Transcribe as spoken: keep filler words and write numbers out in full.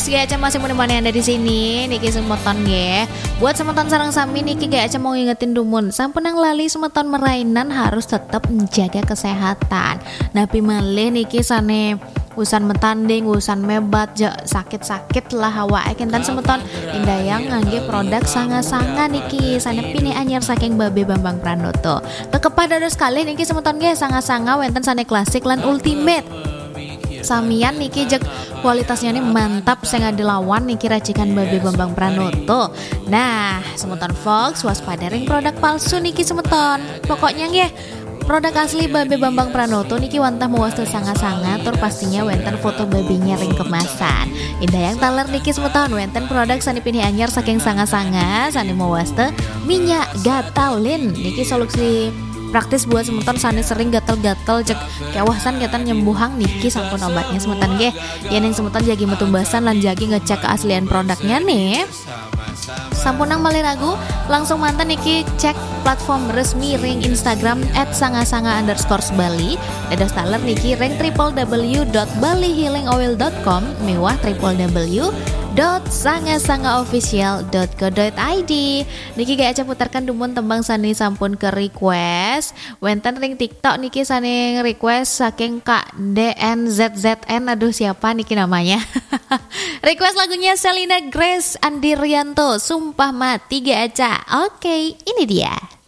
Gak aja masih menemani Anda di sini, niki semeton nggih. Buat semeton sareng sami niki gak aja mau ngingetin dumun. Sampun nang lali semeton merainan harus tetap menjaga kesehatan. Napi malih niki sane usan metanding, usan mebat, ja, sakit-sakit lah awake kinten semeton. Indayang ngangge produk sanga-sanga niki sane pinih anyar saking Babe Bambang Pranoto. Kekepah dados kalih niki semeton nggih sanga-sanga wenten sane klasik lan ultimate. Samian niki jeg kualitasnya nih mantap sing ada lawan niki racikan Babe Bambang Pranoto. Nah, semeton Fox waspada ring produk palsu niki semeton. Pokoknya nggih produk asli Babe Bambang Pranoto niki wantah mewasta sanga-sanga tur pastinya wenten foto babenya ring kemasan. Indayang taler niki semeton wenten produk sane pinih anyar saking sanga-sanga sane mewasta minyak gatalin niki solusi praktis buat semeton sane sering gatel-gatel cek kewasan gatel nyembuhang niki sampun obatnya semeton nggih. Yen yang semeton jagi metumbasan lan jagi ngecek keaslian produknya nih. Sampunang malih ragu, langsung mantan niki cek platform resmi ring Instagram at sanga sanga underscore Bali. Dados taler niki ring triple w dot bali healing oil dot com miwah triple w dot sanga sanga official dot co dot id. Niki gak aja putarkan dumun tembang sani sampun ke request. Wenten ring TikTok niki sani request saking Kak D N Z Z N. Aduh, siapa niki namanya? Request lagunya Selina Grace Andirianto, Sumpah Mati gak aja. Oke, ini dia.